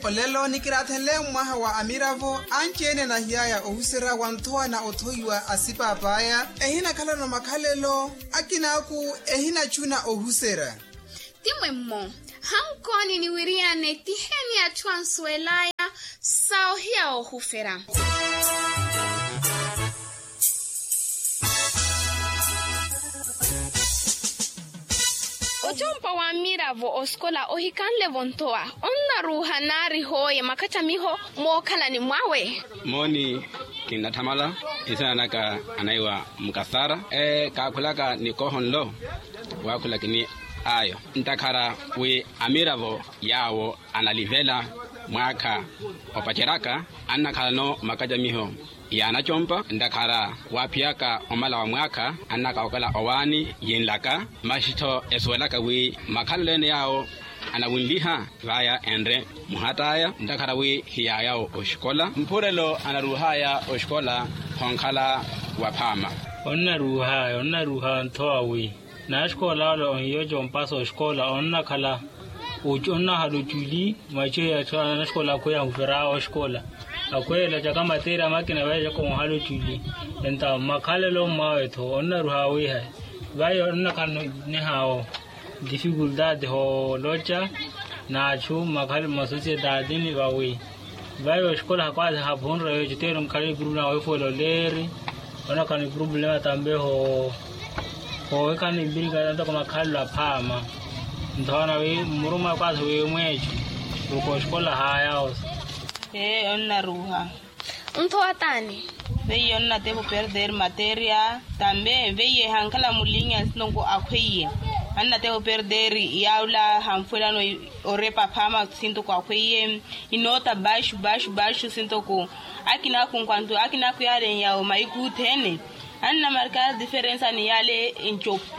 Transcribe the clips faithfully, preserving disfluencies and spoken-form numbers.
Olelo nikiraathenle mmwaha wa amiravo anci-ene anahiy'aya ohuserya wa nthowa na othoiwa a sipaap'aya. Ehinakhalano makhalelo akin'aku ehinachuna ohuserya. Ti mwemmo. Hankooni niwiriyane tiheni atthu ansuwel'aya sa ohiya oohufera. Ocompa wa amiravo osikola ohikanle-vo nthowa onnaruuha naari hooye makattamiho mookhalani mwawe. Mooni, kinnathamala. Nsina naka anaiwa mukasara. Kaakhulaka nikoho nlo waakhula kini ayo ntakhara wi amiravo yaawo analivela mwaakha opaceryaka annakhalano makacamiho yaanacompa ntakhara waaphiyaka omala wa mwaakha annakawookela owaani yinlaka. Masi-tho esuwelaka wi makhalelo ene yaawo anawinliha vaya enre muhat'aya ntakhara wi hiyaayawo oxikola mphurelo anaruuh'aya oxikola. Khonkhala waphaama. Onnaruuh'aya onnaruuha nthowa wi naxikola ole onhiya ocompasa oxikola onnakhala onnahala oculi. Maciyo ya anaxikola akhweya ahufer'awe oxikola akhweya olacaka materya makina vaecaka onhala oculi. Enta makhalelo mwawe-tho onnaruha wiiha vayo onnakhala nihaawo difikultati hooloca n'atthu mmakhala mmasosiyetati ni vawi vayo oxikola hakwaasi haphunre weeco teero nkhala epurupu na weefuwela oleeri. Onakhala ni purupulema tambe hoohikhala ni mpirikana ntoko makhalelo aphaama. Nthoona wi mmuruma kwaasi wi mweeco uko oxikola haayawo. Ee onnaruuha. Nthowa t'ani? Veiye onnatepa operder materia tambe veiye hankhala mulinya sintoko akhweiye. Annatepa operder yaula hanfwelano orepa phama sintoko akhweiye. Inoota baixo baixo baixo sintoko akinaku nkwanto akinaku yale nyawo mahiku othene. Annamarkar diferensa ni yale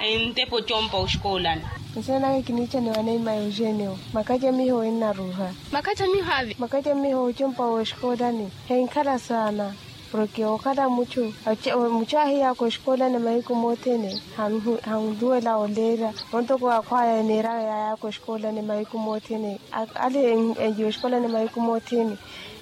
entepa ocompa oxikoolani. Nsenaka kiniichaniwa neima eugenio. Makacamiho ennaruuha. Makacamiho avi? Makacamiho ocompa w'oxikoolani henkhala saana. Porke okhala muchu muchu ahiyaka oxikoolani mahiku mothene. Hanluwela oleera ontoko akhwaya eneeraka yayaka oxikoolani mahiku mothene. Ale oxikoolani mahiku mothene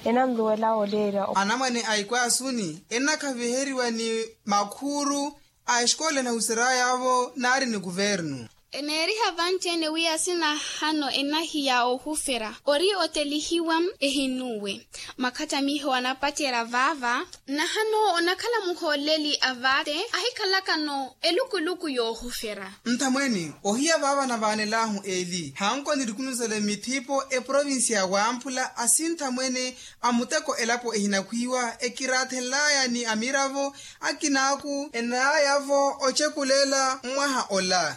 enanluwela oleera. Anamwane a ikwaasuni ennakhaviheriwa ni makhuuru a exikoolani ahusery'aya-vo naari ni kuvernu. Eneeriha vanci-ene wi asinahano enahiya oohufera ori otelihiwa ehinuwe. Makhattamiho anapacerya vaava nahano onakhala muhooleli a vaate ahikhalakano eluku eluku yoohufera. Nthamwene ohiya vaava navaanel'ahu eli hanko nirikunusele mithipo eprovincia ya wamphula asinthamwene a muteko elapo ehinakhwiiwa ekiraathenl'aya ni amiravo akin'aku enayavo ocekulela mmwaha ola.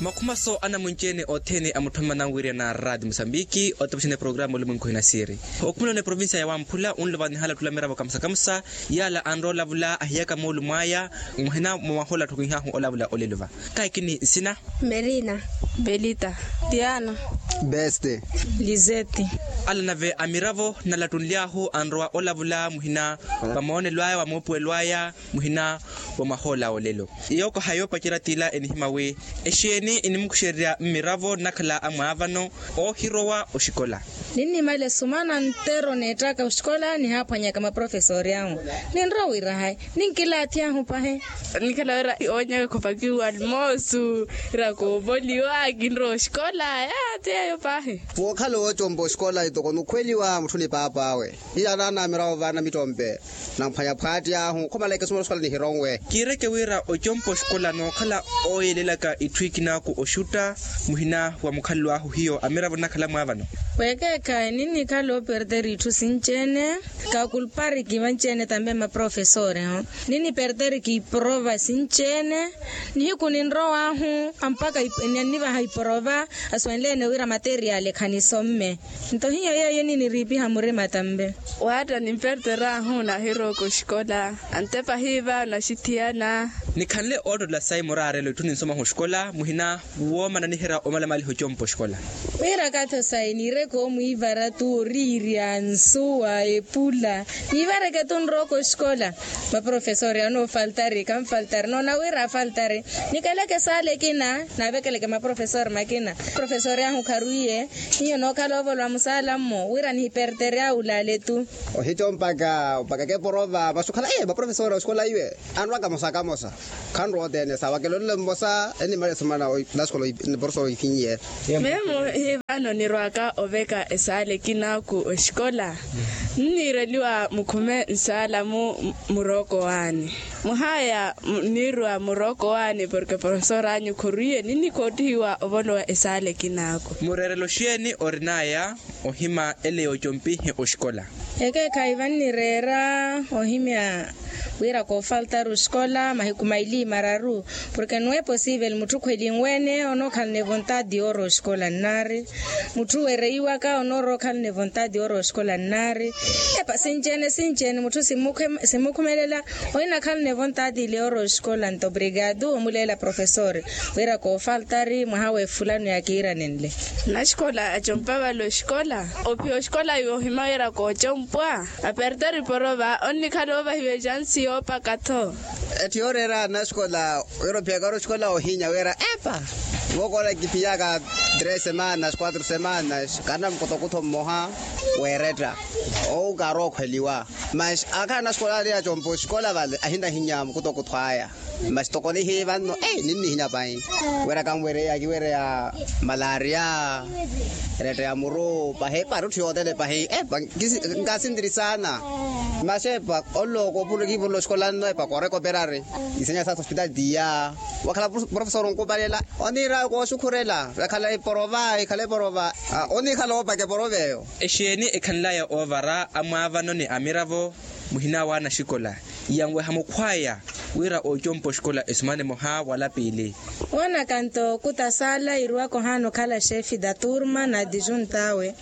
Makhumaso anamwinci-ene othene a mutthu amananwirya na raati musambiki otapuxana eprogramu olumwenku hinasiri. Okhumulana eprovincia ya wamphula unlova nihala ottula miravo kamusa kamusa. Yaala anrowa olavula ahiyaka moolumo aya muhina mwa mahola atthu kinhaahu olavula olelo va. Kaakini nsina. Merina. Belita. Tiana. Beste. Lizeti. Ala nave amiravo nalattunly'ahu anrowa olavula muhina wa moonelo aya wa moopuwelo aya muhina wa mahola olelo. Yookoha yoopacerya t'ila enihimya wi exeeni inimukuxererya mmiravo nnakhala amwaavano oohirowa oxikola. Ninnimale sumana ntero neettaka oxikola nihaaphwanyaka maprofesori ahu. Ninrowa wira hayi ninkilaathi ahu pahi. Nikhala wira oonyaka khopakiwa almoosu ira koopoliwa kinrowa oxikola aya. Ti yeeyo pahi. Wookhala oocompa oxikola itoko nukhweliwa mutthu ni paap'awe. Hiya naana amiravo vaana mittompe namphwanya phwaati ahu khomala ekesumela oxikola nihironwe. Kiireke wira ocompa oxikola nookhala ooyelelaka itthu ikinaaku oxutta muhina wa mukhalelo ahu hiyo amiravo nnakhala mwaavano. Weekeekhayi ninnikhala operder itthu sinci-ene. Kakulpariki vanci-ene tambe maprofesori. Ninniperderiki iprova sinci-ene. Nihiku ninrow'ahu ampakha ninnivaha iprova. Asuwenle-ene wira materiali khanisomme. Nto hiyo yeeyo niniriipiha murima tambe. Waatta nimperder'ahu nahirowa oxikola. Antepa hiiva naxithiyana. Nikhanle oottola sayi muraarelo itthu ninsomahu oxikola muhina woomana niherya omalamaliha ocompa oxikola. Wira kathi osayi niire. Koomwiivara tu oriirya nsuwa epula. Niivareke tu nrooko oxikola. Maprofesori anoofaltari kanfaltari noona wira afaltari. Nikeleke esaala ekina naavekeleke maprofesori makina. Profesori ahu kharwiiye. Hiyo nookhala ovolwa musaala mmo wira nihiperterya wulaale tu. Ohico mpaka mpaka keporova masu khala maprofesori oxikola iwe. Anrwa kamosa kamosa. Khanrowa othene sawa kelolelo mmosa enimaresumana. Naxikola niporofesori oifinyiye. Memo hivano nirwaka oveka esaala ekinaku oxikola. Nniireliwa mukhume nsaala mu murooko waani. Muhaya nniirwa murooko waani porke profesori anyu khurwiiye ninnikhoottihiwa ovolowa esaala ekinaku. Mureerelo xeeni orinaya ohima ele yoocompihe oxikola? Ekeekhayi vannireera ohimya wira koofaltari oxikola mahiku maili mararu. Porke nuwe posivel mutthu khwelinwene onookhalane vontadi yoorowa oxikola nnaari. Mutthu wereiwaka onoorowa okhalane vontadi yoorowa oxikola nnaari. Epa sinci-ene sinci-ene mutthu simmukhumelela. Ohinakhalane vontadi ile yoorowa oxikola nto obrigadu omuleela profesori wira koofaltari mwaha wefulano yakiiranenle. Naxikola acompa vale oxikola. Ophiya oxikola yoohima wira koocompwa. Aperteri porova onnikhala oovahiwa exansi yoopaka-tho. Etthi yooreera naxikola wira ophiyaka ori oxikola ohinya wira epa. Vookola kiphiyaka tres semanas quatro semanas karina mukutokutho mmoha. Weeretta owu kaarookhweliwa. Masi akhala naxikola ali acompa oxikola vale ahinahinya mukutokutho aya. Masi tokonihi vanno ninnihinya pahi. Wira kanwereya kiwereya malaria. Eretta ya muru pahi epa ari otthu yothene pahi epa. Nkasintirisana. Masi epa ollo koopuro kiivurula oxikola nno epa kooreka operari. Isenya sasa hospital tiya. Wakhala profesori onkupalela oniira kooxukhurela. Ekhala eporova ekhala eporova. Onikhala oopaka eporova eyo. Exeeni ekhanlaya oovara amwaavano ni amiravo muhina wa anaxikola yanweha mukhwaya wira ocompa oxikola esumana emoha wala piili. Woonaka nto kutasala iruwaka ohaana okhala xeefi da turma na dijunta awe.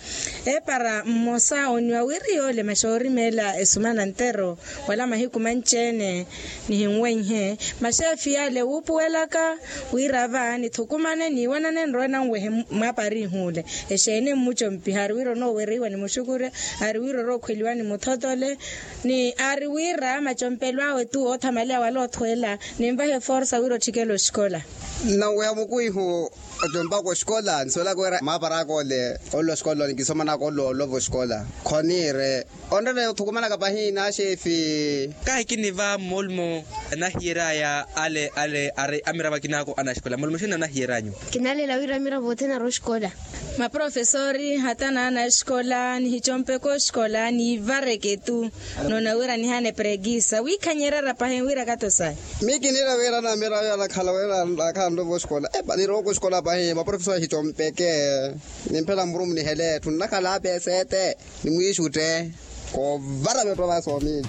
Epara mmosa oniwa wiri yoole maxoorimeela esumana ntero wala mahiku manci-ene. Nihinwenhe maxeefi yale wuupuwelaka wira va nithukumane niiwanane nrowe nanwehe. Mwaapari ihuule exeene mmucompiha ari wira onoowereiwa nimuxukurya ari wira orookhweliwa nimuthotole. Ni ari wira macompelo awe tu oothamaleya wala othweela ninvahe forsa wira otthikela oxikola. Nnanweha mukwihu. Acompaka oxikola nsuwelaka wira mwaapari aka ole. Ole oxikola onikisomanaka ole olova oxikola khoniire. Onrene othukumanaka pahi naxeefi. Kahi kiniva mmolmo anahiyeraya ale ale ari amiravo akinako anaxikola mmolmo xeeni anahiyeryanyu? Kinalela wira amiravo othene ari oxikola. Maprofesori hata naana axikola nihicompeke oxikola niivareke tu. Noona wira nihane prekisa wiikhanyerera pahi wira kato sahi. Miyo kiniira wira namiravo anakhala wira anakhala nrovo oxikola epa nirooko oxikola pahi maprofesori ahicompeke. Nimphela muru munihele etthu nnakhala apeseete. Nimwiixutte koovara vetthu avasoomi.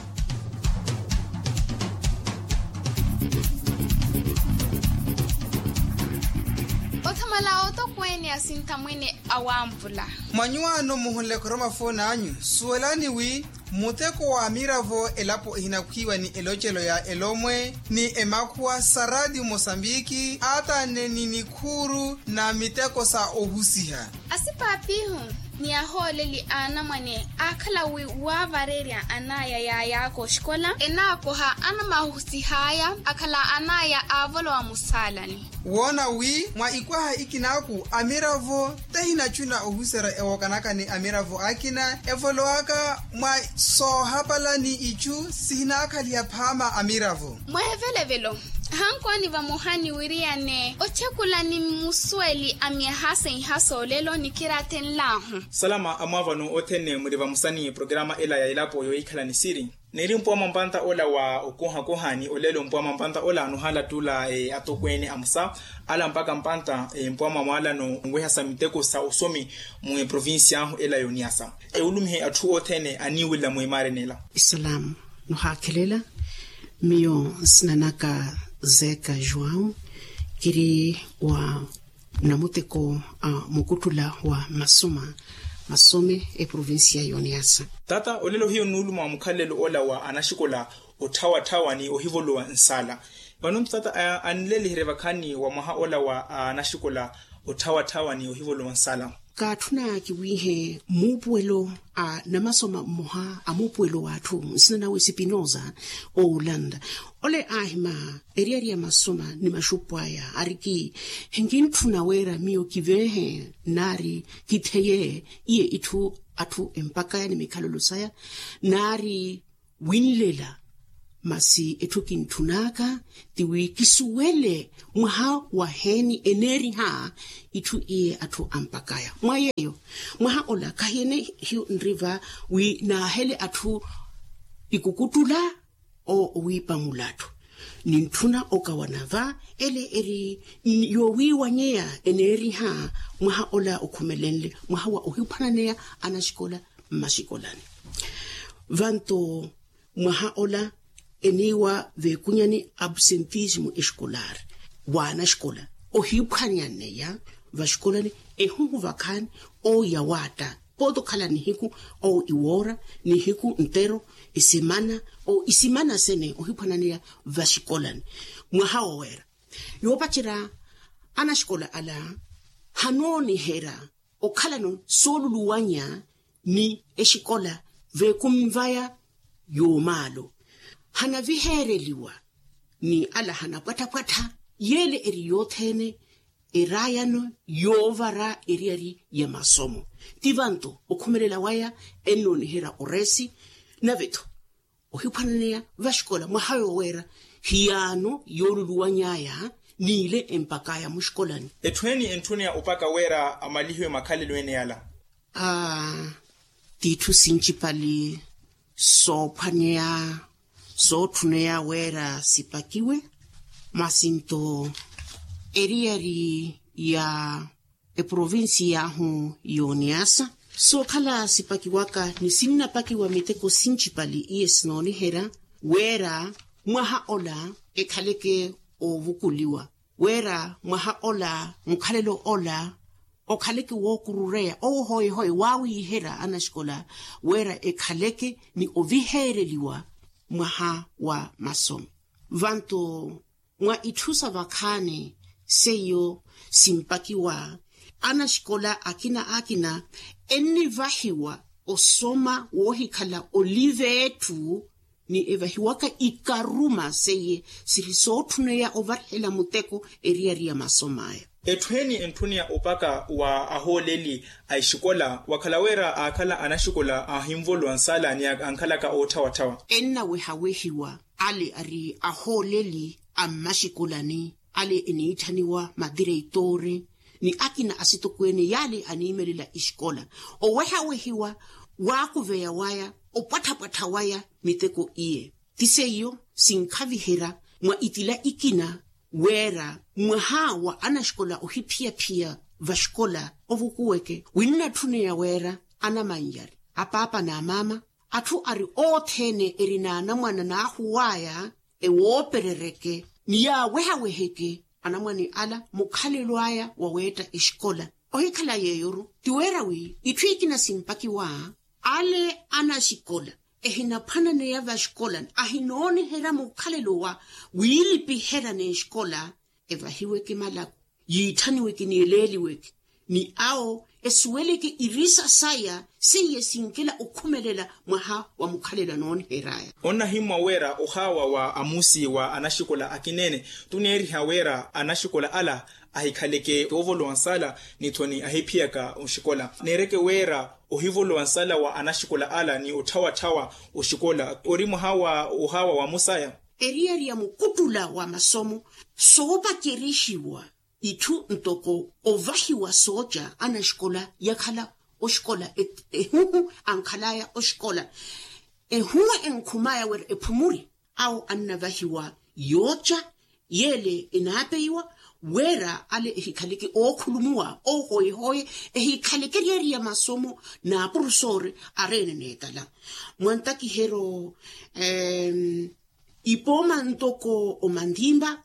Othamala otokweene asinthamwene awampula. Mwa nyuwaano muhunle khoroma fooni anyu suwelani wi muteko wa amiravo elapo ehinakhwiiwa ni elocelo ya elomwe ni emakhuwa sa ratio mosambiki aatane ni nikhuuru na miteko sa ohusiha. Asipaapihu ni ahooleli a anamwane aakhala wi waavarerya anaya yaayaka oxikola enaakoha anamahusihaya akhala anaya aavolowa musaalani. Woona wi mwa ikwaha ikinaku amiravo tahinacuna ohuserya ewookanaka ni amiravo akina evolowaka mwa soohapala ni icu sihinaakhaliha phaama amiravo. Mweevelevelo hankwaani vamoha niwiriyane othekula ni mmusuweli a myaha seiha soolelo nikiraathenlahu. Salama amwaavano othene muri vamosa ni programa ela ya elapo yohikhala ni siri. Niri mpuwa mwa mpanta ola wa okuhakuha ni olelo mpuwa mwa mpanta ola nuhaala tuula atokweene amosa ala mpaka mpanta mpuwa mwa mwaalano nwehasa miteko sa osomi mu eprovincia ahu ela yoniyasa. Ewulumihe atthu othene aniiwilla mwimaareni ela. Isalamu nuhaakhelela. Miyo nsina naka zeeka juwau kiri wa namuteko a mukuttula wa masuma masome eprovincia yoniyasa. Tata olelo hiyo nnuuluma mukhalelo ola wa anaxikola otthawatthawa ni ohivolowa nsaala. Vano nthu tata anleliherye vakhaani wa mwaha ola wa anaxikola otthawatthawa ni ohivolowa nsala. Kaatthuna kiwiihe muupuwelo a namasoma mmoha a muupuwelo w'atthu nsina nawe sipinosa, oolanda ole aahima eriyari ya masoma ni maxupu aya ariki hinkintthuna wira miyo kiveehe naari kitheye iye itthu atthu empakaya ni mikhalelo saya naari winlela masi etthu kintthun'aka ti wi kisuwele mwaha waheeni eneeriha itthu iye atthu ampakaya mwa yeeyo mwaha ola khahiene hiyo nriva wi naahele atthu ikukuttula owiipa mulattu nintthuna okawana va ele eri yoowiiwanyeya eneeriha mwaha ola okhumelenle mwaha wa ohiphwananeya anaxikola mmaxikolani vanto mwaha ola eniiwa veekunyani absentismo escolar waanaxikola ohiphwanyaneya vaxikolani ehuhu vakhaani oya waatta pooti okhala nihiku owo iwoora nihiku ntero isimana owo isimana sene ohiphwananeya vaxikolani mwaha woweera yoopacerya anaxikola ala hanooniherya okhalano sooluluwanya ni exikola veekunvaya yoomaalo hanaviheereliwa ni ala hanapwattha-pwattha yeele eri yothene eraayano yoovara eriyari ya masomo ti vanto okhumelela waya ennooniherya oreesi nave-tho ohiphwananeya vaxikola mwaha yooweera hiyaano yooluluwany'aya n'ile empak'aya muxikolani. Etthu eni entthuneya opaka wira amalihiwe makhalelo ene ala. Aa t'itthu sincipali soophwaneya sootthuneya wira sipakiwe masi nto eriyari ya eprovincia ahu y'oniasa sookhala sipakiwaka ni sinnapakiwa miteko sincipali iye sinooniherya wira mwaha ola ekhaleke oovukuliwa wira mwaha ola mukhalelo ola okhaleke wookurureya owo hoye-hoye waawiiherya anaxikola wira ekhaleke ni oviheereliwa mwaha wa masomo vanto mwa itthu sa vakhaani seiyo simpakiwa anaxikola akina akina ennivahiwa osoma woohikhala olive etthu ni evahiwaka ikaruma seiye siri sootthuneya ovarihela muteko eriyari ya masom'aya. Etthu eni entthuneya opaka wa ahooleli a exikola wakhala wira aakhala anaxikola ahinvolowa nsala ni ankhalaka ootthawatthawa ennawehawehiwa ale ari ahooleli a mmaxikolani ale eniitthaniwa madireitoori ni akina asitokweene yaale aniimelela exikola owehawehiwa waakuveya waya opwattha-pwattha waya miteko iye ti seiyo sinkhaviherya mwa itila ikina wira mwaha wa anaxikola ohiphiyaphiya vaxikola ovukuweke winnatthuneya wira anamannyari apaapa n'amaama atthu ari othene eri n'anamwana n'ahuw'aya ewooperereke ni yaawehaweheke anamwane ala mukhalelo aya waweetta exikola ohikhala yeeyo-ru ti wira wi itthu ikina simpakiwa ale anaxikola ehinaphwananeya vaxikola ahinooniherya mukhalelo wa wiilipiherya n'exikola evahiweke malaku yiitthaniweke ni eleeliweke ni awo esuweleke irisa saya seiye sinkela okhumelela mwaha wa mukhalelo anoonihery'aya. Onnahimmwa wira ohaawa wa amusi wa anaxikola akineene tuneeriha wira anaxikola ala ahikhaleke oovolowa nsala ni-tho ni ahiphiyaka oxikola neereke wira ohivolowa nsala wa anaxikola ala ni otthawatthawa oxikola ori mwaha wa ohaawa wa musaya eriyari ya mukuttula wa masomo soopacerixiwa itthu ntoko ovahiwa sooca anaxikola yakhala oxikola ehuhu ankhal'aya oxikola ehuhu enkhum'aya wira ephumuri awo annavahiwa yooca yeele enaapeiwa wira ale ehikhaleke ookhulumuwa ohoyehoye ehikhaleke eriyari ya masomo n'apurusoori areene n'etala mwantakiheryo ipooma ntoko omandimba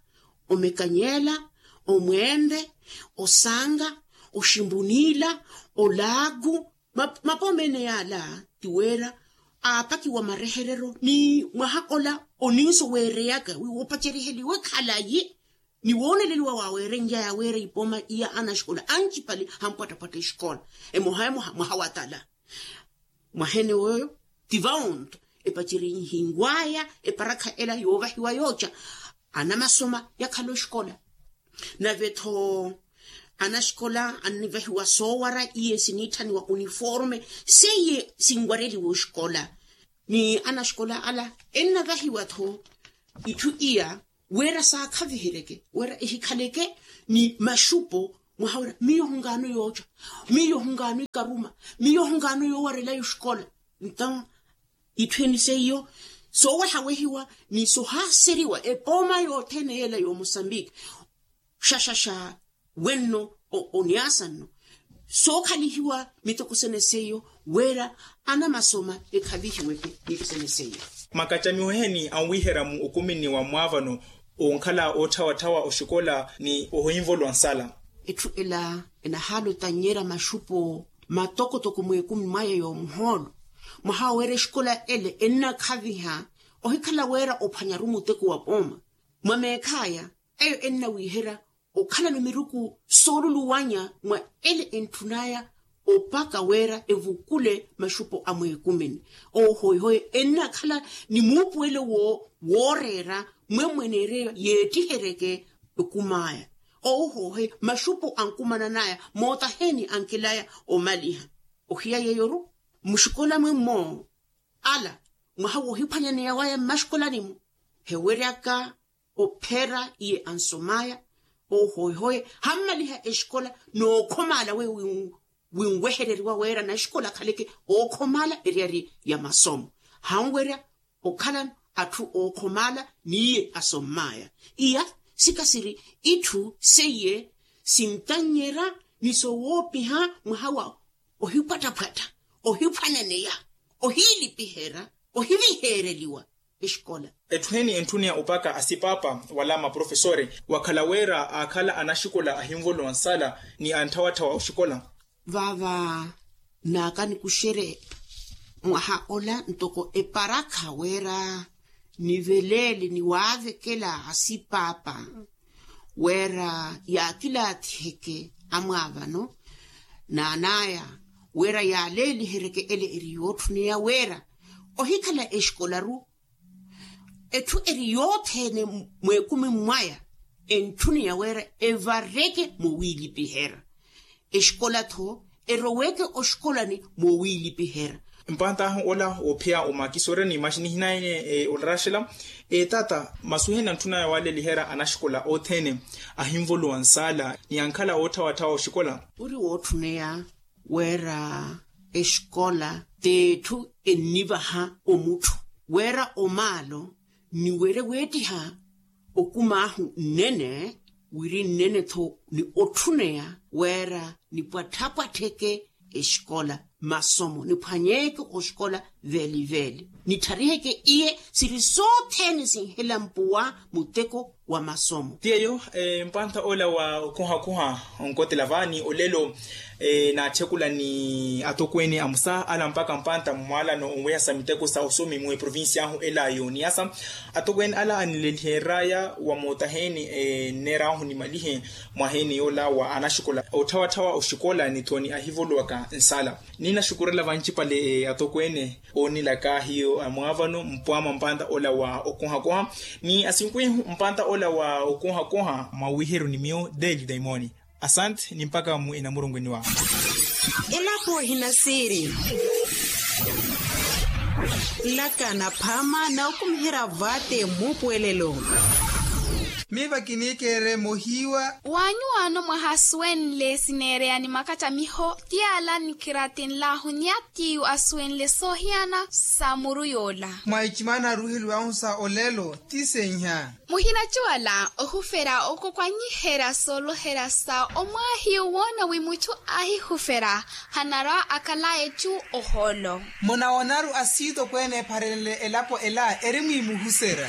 omekanyela omwende osanga oximbunila olagu mapooma ene yaala ti wira aapakiwa mareherero ni mwaha ola oninso weereyaka wi woopaceriheliwe khalayi ni wooneleliwa waaweerenlyaya weera ipooma iya anaxikola ancipale hampwattapwatta exikola emoha emoha mwaha watala. Mwaheene wooyo ti vawo-nto epacerihinw'aya eparakha ela yoovahiwa yooca anamasoma yakhala oxikola. Nave-tho anaxikola annivahiwa soowara iye siniitthaniwa uniforme seiye sinwareliwa oxikola. Ni anaxikola ala ennavahiwa-tho itthu iya wira saakhaviheryeke wira ehikhaleke ni maxupo mwaha wira miyo hunkaano yooca, miyo hunkaano ikaruma, miyo hunkaano yoowarelaya oxikola. Nto itthu eni seiyo soowehawehiwa ni sohaaseriwa epooma yothene yeela yoomosambiki xaxaxa wenno oniasa nno sookhalihiwa mitokosene seiyo wira anamasoma ekhavihiweke mitokosene seiyo. Makacamiho eheni anwiherya mu okumini wa mwaavano onkhala ootthawatthawa oxikola ni ohinvolowa nsala. Etthu ela enahaala otannyerya maxupo matokotoko mweekumi mwaya yoomuhoolo mwaha wira exikola ele ennakhaviha ohikhala wira ophwanyaru muteko wa pooma mwa meekhaya eyo ennawiherya okhalano miruku sooluluwanya mwa ele entthun'aya opaka wira evukule maxupo a mweekumini. Ohoihoye ennakhala ni muupuwelo wooreera mwemmweneeryo yeettiheryeke okum'aya. Ohoihoye maxupo ankumanan'aya mootaheeni ankelaya omaliha ohiya yeeyo-ru muxikola mwemmo ala mwaha woohiphwanyaneya waya mmaxikolani-mu heweryaka ophera iye ansom'aya. Ohoihoye hammaliha exikola nookhomaala weyo winwehereriwa wira naxikola akhaleke ookhomaala eryari ya masomo hanwerya okhalano atthu ookhomaala n'iye asomm'aya. Iya sikasiri itthu seiye sintannyerya ni sowoopiha mwaha wa ohipwattaphwatta ohiphwanyaneya ohiilipiherya ohiviheereliwa exikola. Etthu heni entthuneya opaka asipaapa wala maprofesore wakhala wira aakhala anaxikola ahinvolowa nsala ni antthawatthaw'a oxikola. Vaava naakanikuxerye mwaha ola ntoko eparakha wira niveleele niwaavekela asipaapa wira yaakilaathiheke amwaavano naan'aya wira yaaleeliheryeke ele eri yootthuneya wira ohikhala exikola-ru etthu eri yothene mweekumi mwaya entthuneya wira evareke moowiilipiherya exikola-tho eroweke oxikolani moowiilipiherya. Mpantahu ola woophiya omakisoorya ni maxi nihinaye olaraxela. Taata masuheni antthunaya waaleliherya anaxikola othene ahinvolowa nsala ni ankhala ootthawatthawa oxikola. Ori wootthuneya wira exikola t'etthu ennivaha omutthu wira omaalo ni wira weettiha okum'ahu nnene wiri nnene-tho ni otthuneya wira nipwattapwattheke exikola masomo niphwanyeeke oxikola veeliveeli nithariheke iye siri sothene sinhela mpuwa muteko wa masomo. Ti eyo mpantha ola wa okuhakuha onkotela vaani olelo naatthekula ni atokweene amusa ala mpakha mpantha mmwaalano onwehasa miteko sa osomi mwe provincia ahu ela yooniyasa atokweene ala anileliheraya wa mootaheeni nneerahu nimalihe mwaheeni yoola wa anaxikola otthawaththawa oxikola ni thoni ahivolowaka nsala. Ninaxukurela vancipale atokweene oonilaka hiyo amwaavano mpwama mpanta ola wa okohakoha ni asinkwihu mpanta ola wa okohakoha mwawiheryo ni miyo deli daimoni. Asante ni mpaka mu enamurungweniwa. Elapo ehinasiiri nlaka naphama na okumiherya vate mmuupuwelelo. Miva kiniikeerye mohiiwa. Waanyuwaano mwahasuwenle sineereya ni makacamiho ti ala nikiratinlahu ni atiyu asuwenle soohiyana sa muru yoola. Mwa icimana aruheliwahu sa olelo ti senha. Muhinacuwala ohufera okokwanyiherya sooloherya sa omwaahiyu woona wi mutthu ahihufera hanarwa akalaye cu ohoolo. Munawoonaru asiitokweene epharenle elapo ela eri mwiimuhuserya.